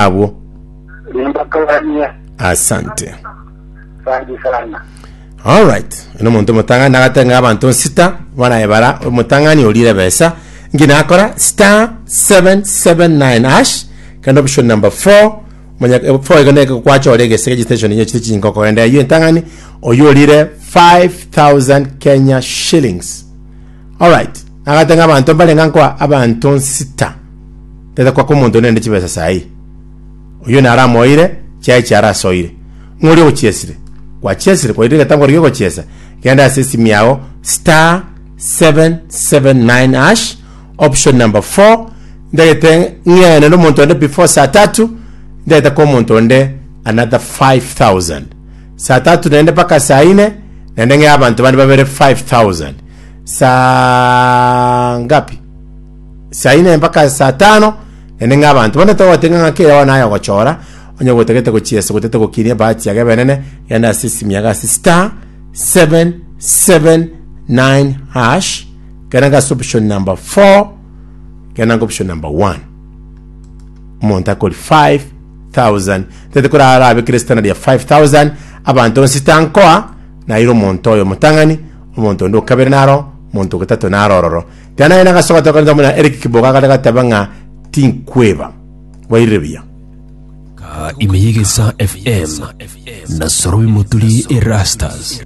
Abwo. Nimbakwanie. Asante. Asante sana. Alright. Eno omonto omotang'ani nagate ng'a abanto nsita bono aye bara omotang'ani orire ebesa nki nakora star 779 hash kende option number 4 manya 4 igo neke kwachora egese registration inye chire chinyinga okogenda eywo entang'ani oywo orire 5000 Kenya shillings. Alright. Nagate ng'a abanto mbare ng'a nkoa abanto nsita. Tete kwaka omonto nende chibesa saii. Oyio naramoire, chiaye chiarasoire. Ng'o oria ogochiesire? Gwachiesire, kwairire egetambo keria giogochiesa, genda ase esimi yao star 779 hash option number 4 ndagete ng'ene na omonto onde before saa tatu ndagete kwa omonto onde another 5000 saa tatu naende mpaka saa ine naende ng'e abanto bande babere 5000 saa ngapi Saa ine mpaka saa tano, naende ng'a abanto bande togoteba ng'a ng'aki bono aye ogochora, onye gotagete gochiesa gotagete gokinia ebahati yago ebenene, genda ase esimi yago ase star 779 hash, genda ase option number 4, genda nga option number 1. Omonto akori 5000, tete kora arabekere standard ya 5000, abanto bonsi tankoa, naire omonto oyo omotang'ani, omonto onde okabere naro, omonto ogatato naro ororo. Tiga naye nagasoka tokanisa buna Eric Kiboga akare gateba ng'a tinkweba. Bwairire buya. Ka ime y'Egesaa FM na Sorobi Moturi Erastus.